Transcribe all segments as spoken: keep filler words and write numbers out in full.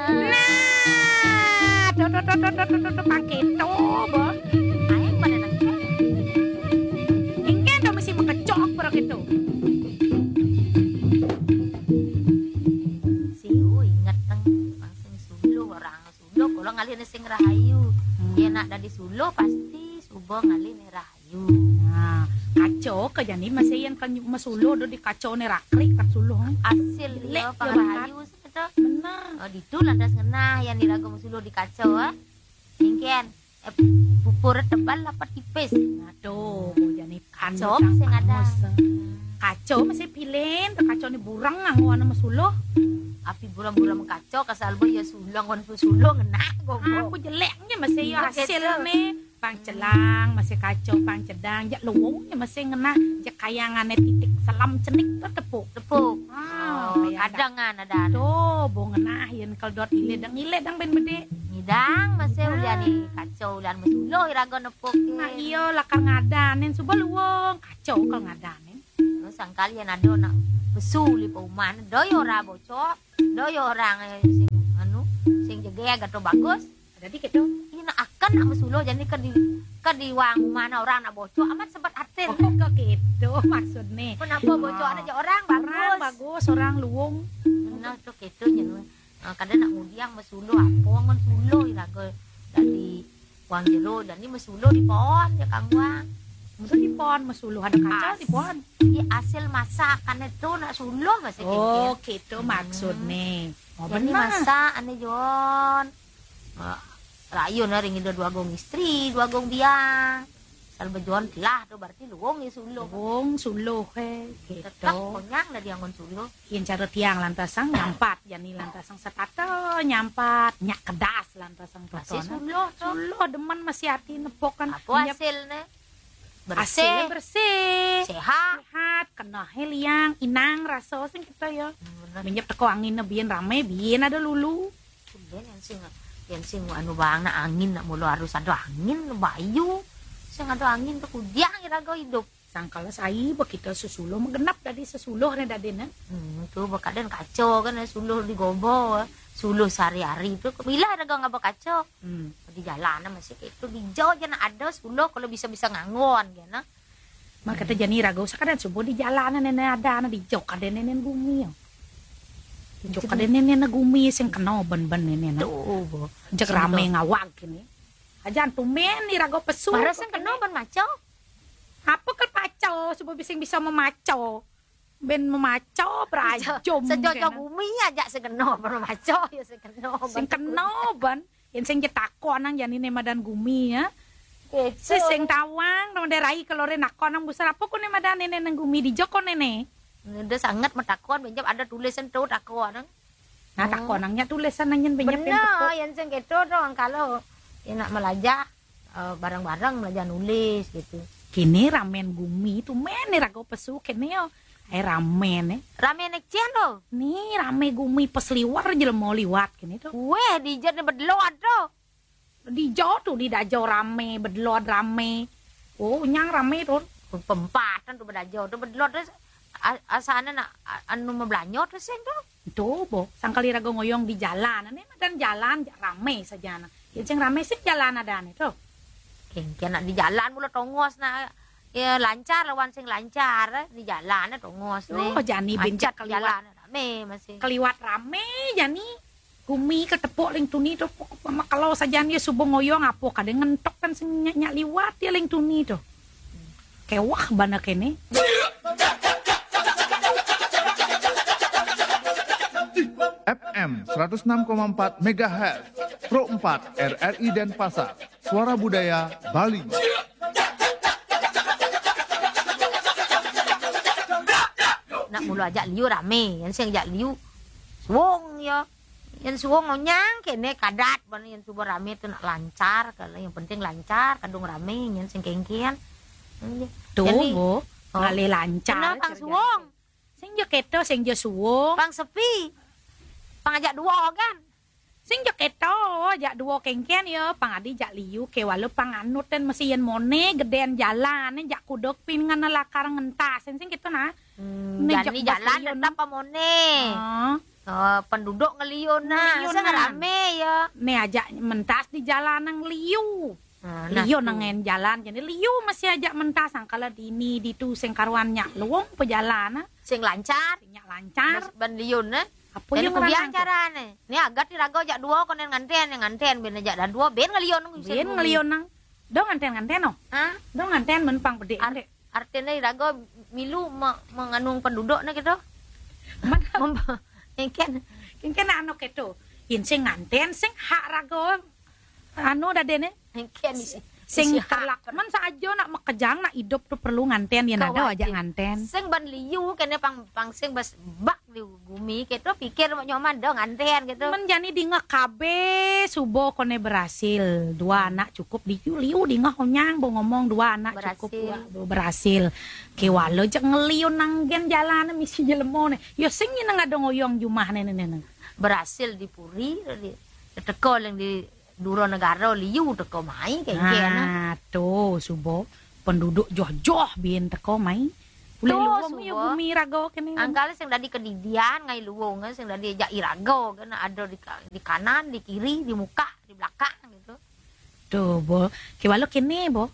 Nah, tuh, tuh, tuh, tuh, tuh, tuh, tuh, tuh, pang kéto, Bo. Aing pada nang. Engké to mesti mengkecok pada kéto. Siu inget teng, pang sing suluh, orang suluh, kalau ngalih sing rahayu. Hmm. Yén nak dadi suluh, pasti suba ngalih rahayu. Nah, kaco ka jani masih yén kan masuluh do di kaco né rakrik kat suluh. Asil. Jelek ya, ya, pang rahayu sih kita. Bener. Oh, ditu lantas ngenah yén iraga masuluh di kaco, ah. Engkén, eh, pupur tebal apa tipis? Aduh, jani kaco sing ada. Kaco masih pilin, tuh kaco nih burang nganggo ana masuluh. Api buram-buram kaco, kasal bo ya sulang wan suluh ngenah, goblok. Aku jeleknya masih ya hasilnya. Pang celang, masih kaco, pang cedang, jak luwung, ya masih ngenah, jak kayangané titik selam cenik tuh tepuk. Tepuk. Ah, oh, kayak kadangan ada. Tuh, bo ngenah, yén keldot ilé dang, ilé dang bén bedé. Ngidang, masih ulian nih, kaco, ulian masuluh, iraga nepuk. Nah, iya, lakar ngadanin, suba luwung, kaco kal ngadanin. Terus sangkal yén ada nak pesu li pauman, doyo ora bocok, doyo orang, eh, sing, anu, sing jegeg atau bagus. Dadi kéto. Ina akan nak masuluh, jani ka di, ka di wang mana orang nak bocok, amat sebet atin. Oh, kok kéto maksudné. Kenapa bocok anak orang bagus? Orang bagus, orang luwung. Nah, to kéto nya. Nah, kada nak ngudiang masuluh, apa ngan suluh, iraga dadi wang jero, jani masuluh di pohon, ya kang wang. Masuluh di pohon, masuluh ada kaca di pohon. Iya, hasil masakan itu nak suluh masih. Oh, kéto maksudné. Oh, jani bener. Masak ané Jon. Nah, rayun ring ida dua gong istri, dua gong biang. Sal bejuan telah tuh berarti luwung ya suluh. Luwung suluh, eh, gitu. Tetep konyang dah dianggon suluh. Yén cara tiang lantasang nyampat, jani lantasang setata nyampat, nyak kedas lantasang. Masih totona. Suluh tuh. Suluh demen masih hati nepok kan. Apa hasilnya? Bersih. Hasilnya bersih. Sehat. Sehat, kenehé liang, inang rasa sing kita ya. Hmm, bener. Menyep teko angin biyen ramé, biyen ada lulu. Tumben yén sing, yén sing anu bang nak angin nak mula harus ada angin bayu. Sing ada angin tuh kudiang iraga hidup. Sangkala sai ba kita sesuluh mah genep dadi sesuluh né dadéna. Hmm, tuh bakadan kaco kan suluh di gobo, suluh sehari-hari tuh milah iraga ngaba kaco. Hmm. Di jalan masih kayak itu di jauh aja nak ada suluh kalau bisa-bisa nganggon gitu. Maka kata jani raga usah kadén subuh di jalanan néné ada anak di jok kadén néné gumi ya. Di jok kadén néné gumi sing kena ben-ben néné. Tuh, bo. Jek ramé ngawag kini. Ajan tumén ni raga pesu. Barang sing kena ben maco. Apa ke paco subuh bising bisa memaco. Ben memaco berajum. Sejojo gumi aja sing kena ben maco ya sing kena. Sing kena ben. Yén sing jetakon nang jani né madan gumi ya. Gitu. Sing tawang nang darai kelore nakon nang busar apa kone madan néné nang gumi di joko néné. Udah sangat metakon benjep ada tulisan tuh takon nang. Nah, takon nang nya tulisan nang yén benjep. Bener, yén sing gitu dong kalau enak melajah, eh, bareng-bareng melajah nulis gitu. Kini ramen gumi tuh men nih rago pesu kene yo. Eh, ramen nih. Ramen nek cien tuh. Nih rame gumi pas liwar jelema liwat kini tuh. Weh, di jet nih bedelot tuh. Di jauh tuh di dajau rame, bedelot rame. Oh, nyang rame tuh. Pempatan tuh bedajau tuh bedelot tuh a-, asana nak a-, anu mebelanyo tuh sing tuh. Tuh, bo, sangkali raga ngoyong di jalan, ane madan jalan ja-, rame saja nah. Yén sing rame sing jalan ada ane tuh. Kengken nak di jalan mula tongos nak ya lancar lawan sing lancar eh. Di jalan eh tongos nih. Oh, jani bencak keliwat. Jalan rame masih. Keliwat rame jani. Gumi ketepuk ling tuni tuh pokok mama kalau saja nih subuh ngoyong apa kada ngentok kan sing nyak, nyak liwat ya ling tuni tuh. Kewah bana kene. F M seratus enam koma empat megahertz, Pro empat R R I Denpasar, Suara Budaya Bali. Nak mulu ajak liu rame, yang sing ajak liu suwung ya. Yang suwung ngonyang kene kadat bana yang suba rame tu nak lancar, kalau yang penting lancar, kadung rame, yang sing kengkian. Tuh, bo, ngalih lancar. Kenapa suwung? Sing jo keto, sing jo suwung. Pang sepi. Pang ajak dua kan? Sing jo keto, ajak dua kengken ya, pang adi jak liu ke walau pang anut dan mesti yen mone geden jalan, jak kuduk pingan lakar ngentas, sing keto nah. Hmm, jani jalan tetap pamone. Heeh. Oh, penduduk ngeliun nah, Ngeliun sing nah. Rame ya. Nih ajak mentas di jalan nang liu. Nah, nah, Liu tuh. Nengen jalan jadi liu masih ajak mentas angkala dini ditu sing karuan nyak luung pejalan ah. Sing lancar. Sing nyak lancar. Bas ban liun nah. Apa Jadi yang kubiang ngerantau? Carane. Nih agat di raga jak dua konen nganten, nganten ben jak dadua ben ngeliun. Bien ngeliun nang. Do nganten-nganten oh. Hah? Do nganten men pang bedek Ar- dek. Artinya di raga milu me- menganung penduduk nah gitu. Man Mem- Engken, Engken anu keto. Yen sing nganten sing hak raga anu dadene. engken isi. Sing isi hak. Terlak men saja nak makejang nak idup tu perlu nganten yen ada Kawajib. Ajak nganten. Sing ban liu kene pang pang sing bas bak di gumi keto pikir mau nyoman do nganten gitu. Men jani dingeh kabeh suba kone berhasil. Dua anak cukup liu liu dingeh onyang bo ngomong dua anak cukup Berhasil. Dua, bo berhasil. Kewala jek ngeliun nanggen jalan misi jelema ne. Ya sing nyeneng ada ngoyong jumah ne ne ne. Berhasil di puri di teko yang di dura negara liu teko mai kayak nah. Nah, tu suba penduduk joh-joh bin teko mai. Ulih Tu luung ya suba. Bumi raga kene. Angkal sing dadi kedidian ngai luung sing dadi jak iraga kan ada di ka- di kanan, di kiri, di muka, di belakang gitu. Tu bo. Kewala kene bo.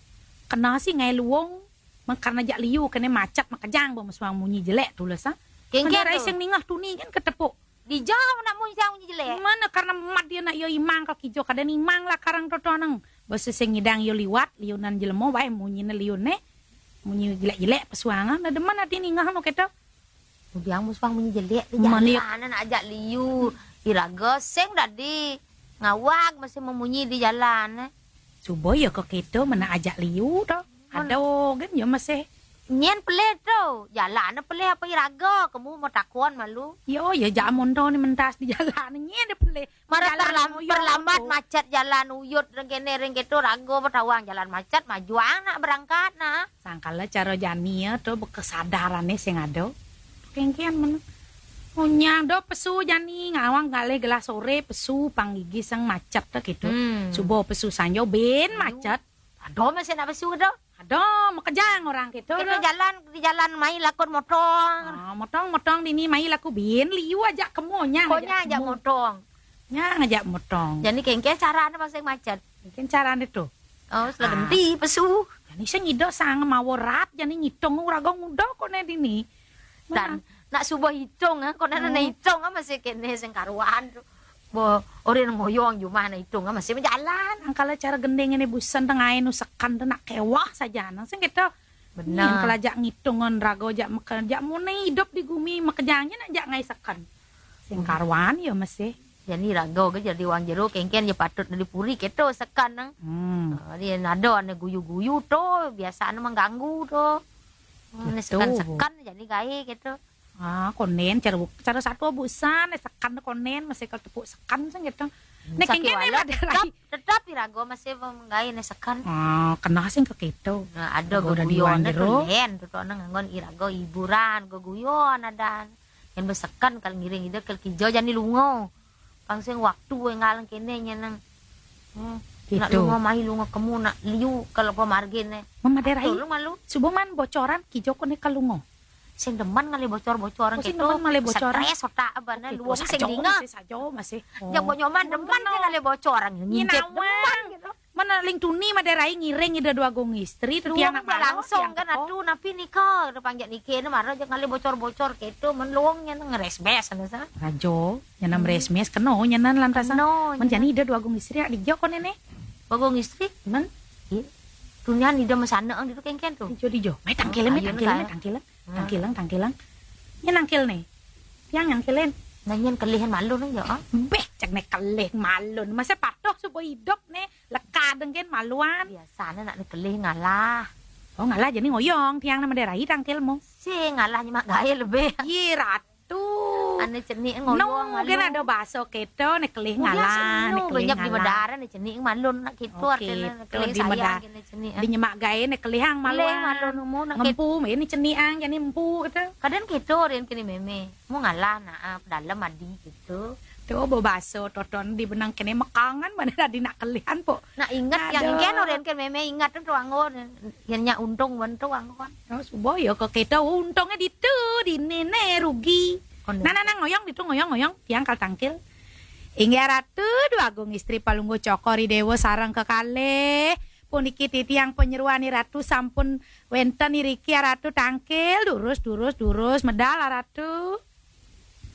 Kena si ngai luung. Men karena jak liu kene macet makejang bo mesuang munyi jelek tules ah. Kengke Mendarai tu. Sing ningah tuni kan ketepuk. Dijauh nak munyi sang munyi jelek. Mana karena mat dia nak yo imang ka kijo kada nimang lah karang totoneng. Basa sing ngidang yo liwat liunan jelema wae munyi ne liun ne. Munyi jelek-jelek pesuangan ada mana ati ningah no keto. Udiang musuang munyi jelek di Mana jalan nak ajak liu. Iraga sing dadi ngawag masih memunyi di jalan. Suba ya kok keto mana ajak liu to. Ada kan ya masih. Nyen pelih tu. Jalan pelih apa iraga. Kamu mau takon malu. Yo ya jak mondo ni mentas di jalan ni dia pelih. Mara Jalan terlam- uyut terlambat tu. Macet jalan uyut rengkene rengketo raga petawang jalan macet majuang nak berangkat nak. Sangkala cara jani ya tu bekesadarane sing ada. Kengkian mana. Unyang do pesu jani ngawang galih gelah sore pesu panggigi sang macet tu gitu. Hmm. Suba pesu sanjo ben macet. Ada masih nak pesu tu. Ada makejang orang gitu. Kita jalan di jalan mai lakon motong. Ah, motong-motong dini mai laku bin liu aja kemu nyang Konya aja motong. Nyang aja motong. Jadi kengke cara anda masih macet. Mungkin carane tu. Oh, sudah Ah. ganti pesu. Jani sing ngido sang mawa rap jani ngitung uraga ngudo kone dini. Dan nak subuh hitung ah, kone Hmm. nak hitung ah masih kene sing karuan tu. Bo, orang ngoyong jumah nak hitung ah masih berjalan. Angkala cara gendeng ini busan tengah nu sekan tu nak kewah saja nang sing gitu. Benar. Kalau jak ngitungan raga jak makan jak mune hidup di gumi makejangnya nak jak ngai sekan. Sing karuan ya masih. Jadi raga ke jadi wang jero kengken je patut dari puri keto sekan nang. Hmm. Ah, dia nada ane guyu-guyu tu, biasa ane mengganggu tu. Ane Gitu. sekan-sekan jadi gae gitu. Ah, konen cara bu- cara satu busan eh, sekan konen masih kalau tepuk sekan sing gitu. Nek Sakit kengken walau ada rai. Tetap di raga masih menggae ne sekan. Ah, kena sing ke gitu. Nah, ada Raga udah geguyon diwan tu jero. Len tu tu nang nganggon iraga hiburan, geguyon ada. Yang bersekan kalau ngiring ida kalau kijo jani lungo. Pang sing waktu engal kene nyeneng. Hmm. Nak Gitu. Lungo mai lungo kemu nak liu kalau ko margin ne. Mama derai. Tolong malu. Subuh man bocoran kijo kone kalungo. Sing demen ngale bocor-bocoran Oh, sing gitu. Demen ngale bocoran. Stres otak abana Oke, luwung sajo, sing dingah. Masih sajo masih. Oh. Yang bok nyoman demen sing ngale bocoran. Ngincit demen gitu. Mana ling tuni maderai ngiring ida dua gong istri tu Luwung tiang nak dah malam, langsung tiang kan teko. Atu napi nika depan jak nike ne mara je ngale bocor-bocor keto men luwung nya ngeresbes ane sa. Rajo, nyanam resmes keno nyanan lantasan. No, Men jani ida dua gong istri ak dijo kone ne. Bagong istri. Men Tunian ida mesana ang ditu kengken tu. dijo dijo. Mai tangkil mai Ayo, tangkil mai nak. tangkil. Tangkilang tangkilang. Nya nangkil ne. Tiang nangkil ne. Piang nangkilin. Nanyan kelihan malu ne ya. Ah. Beh cek ne kelih malun. Masa patuh subuh hidup ne. Leka dengken maluan. Biasa ne nak ne kelih ngalah. Oh ngalah jadi ngoyong tiang nama derai tangkil mo. Si ngalah nyemak gae lebih. Ye ratu. Ane cenik No, ngoyong malu. Kan ada bahasa keto ne kelih Mudah ngalah, sih, ne no, kelih banyak di ngalah. Medara ne cenik malun nak keto Oke, artinya to kelih di sayang Medara. kena cenik. Di nyemak gae ne kelih ang Kelih maluan. malun mu nak Ngempu me ni cenik ang jani empu kata. Kadang keto rian kini meme. Mu ngalah nak ah, dalam adi gitu. Tu bo bahasa toton di benang kene mekangan mana tadi nak kelihan po. Nak ingat yang Aduh. Ingken rian kini meme ingat tu anggon. Yang nya untung wan tu anggon. Oh, subo ya kok kita untungnya di tu di nene rugi. Nah, nah, nah, ngoyong ditu, ngoyong, ngoyong, tiang kal tangkil. Inggih Ratu, Duh Agung Istri Palungguh Cokor I Déwa sareng kekalih. Puniki titiang panyeroan Ratu sampun wénten iriki Ratu tangkil, durus, durus, durus, medal Ratu.